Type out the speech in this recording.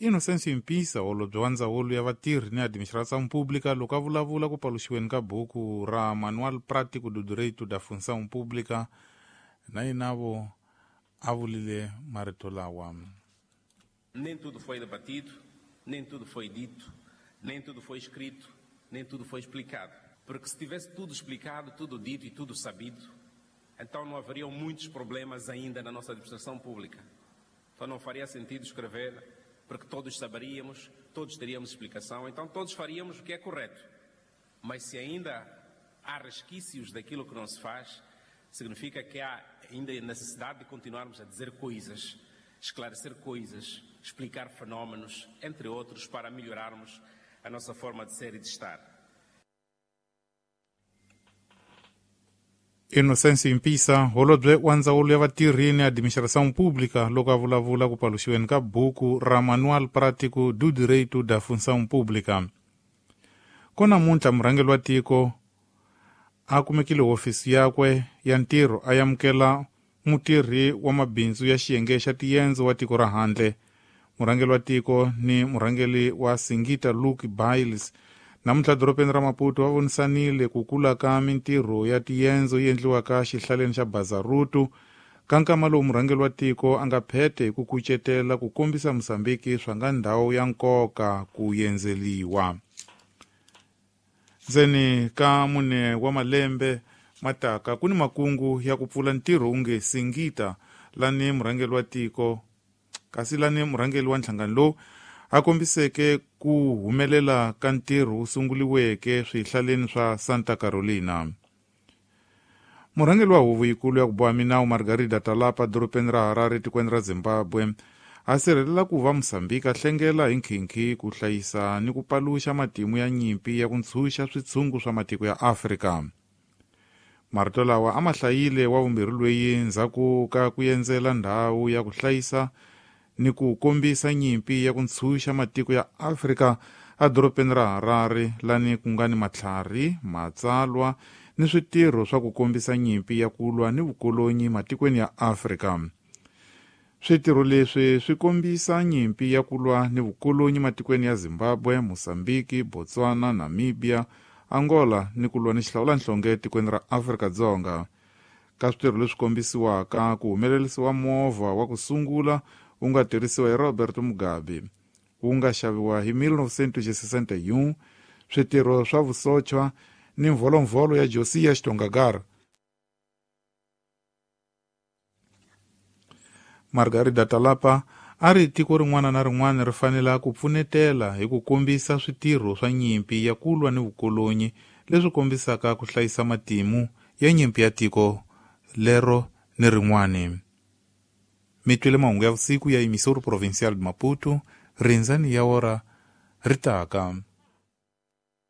Inocêncio Impissa, holobye wa ndzawulo ya vatirhi ni administração pública, loko a vulavula ku paluxiweni ka buku ra Manual Prático do Direito da Função Pública, na yinavo a vulile marito lawa. Nem tudo foi debatido, nem tudo foi dito, nem tudo foi escrito, nem tudo foi explicado. Porque se tivesse tudo explicado, tudo dito e tudo sabido, então não haveriam muitos problemas ainda na nossa administração pública. Então não faria sentido escrever, porque todos saberíamos, todos teríamos explicação, então todos faríamos o que é correto. Mas se ainda há resquícios daquilo que não se faz, significa que há ainda necessidade de continuarmos a dizer coisas, esclarecer coisas, explicar fenómenos, entre outros, para melhorarmos a nossa forma de ser e de estar. Inocêncio Impissa, holobye wa ndzawulo ya vatirhi ni administração pública, loko a vulavula ku paluxiweni ka buku ra Manual Prático do Direito da Função Pública. Ko namuntlha murhangeri wa tiko a kumekile hofisi yakwe ya ntirho a amukela mutirhi wa mabindzu ya xiyenge xa tiyendzo wa tiko ra handle. Murhangeri wa tiko ni murhangeri wa Singita Luke Biles namuntlha dorobeni ra Maputo va vonisanile ku kula ka mintirho ya tiyendzo yi endliwaka xihlaleni xa Bazaruto, ka nkama lowu murhangeri wa tiko a nga phete hi ku kucetela ku kombisa Mozambiki swa nga ndhawu ya nkoka ku yendzeliwa. Ndzeni ka 4 wa malembe mataka ku ni makungu ya ku pfula ntirho wunge Singita lani murhangeri wa tiko, kasi lani murhangeri wa nhlangano lowu a kombiseke ku humelela ka ntirho wu sunguliweke swihlaleni swa Santa Carolina. Murhangeri wa huvo yikulu ya ku boha minawu Margarida Talapa dorobeni ra Harare tikweni ra Zimbabwe a sirhelela ku va Mozambiki a hlengela hi nkhinkhi ku hlayisa ni ku paluxa matimu ya nyimpi ya ku ntshunxa switshungu swa matiko ya Afrika. Marito lawa a ma hlayile wa vumbirhi loyi ndzhaku ka ku endzela ndhawu ya ku hlayisa ni ku kombisa nyimpi ya ku ntshunxa matiko ya Afrika edorobeni ra Harare, lani ku nga ni matlhari, matsalwa ni switirho swa ku kombisa nyimpi ya ku lwa ni vukolonyi matikweni ya Afrika. Switirho leswi swi kombisa nyimpi ya ku lwa ni vukolonyi matikweni ya Zimbabwe, Mozambiki, Botswana, Namibia, Angola ni ku lwa ni xihlawulanhlonge etikweni ra Afrika-Dzonga. Ka switirho leswi kombisiwaka ku humelerisiwa movha wa ku sungula wu nga tirhisiwa hi Robert Mugabe, wu nga xaviwa hi 1961, switirho swa vusochwa ni mvolovholo ya Josiah Xitongagar. Margarida Talapa a ri tiko rin'wana na rin'wana ri fanele ku pfunetela hi ku kombisa switirho swa nyimpi ya ku lwa ni vukolonyi leswi kombisaka ku hlayisa matimu ya nyimpi ya tiko lero ni rin'wana. Mi twile mahungu ya vusiku ya Emissora Provincial de Maputo, rindzani ya ora ri taka.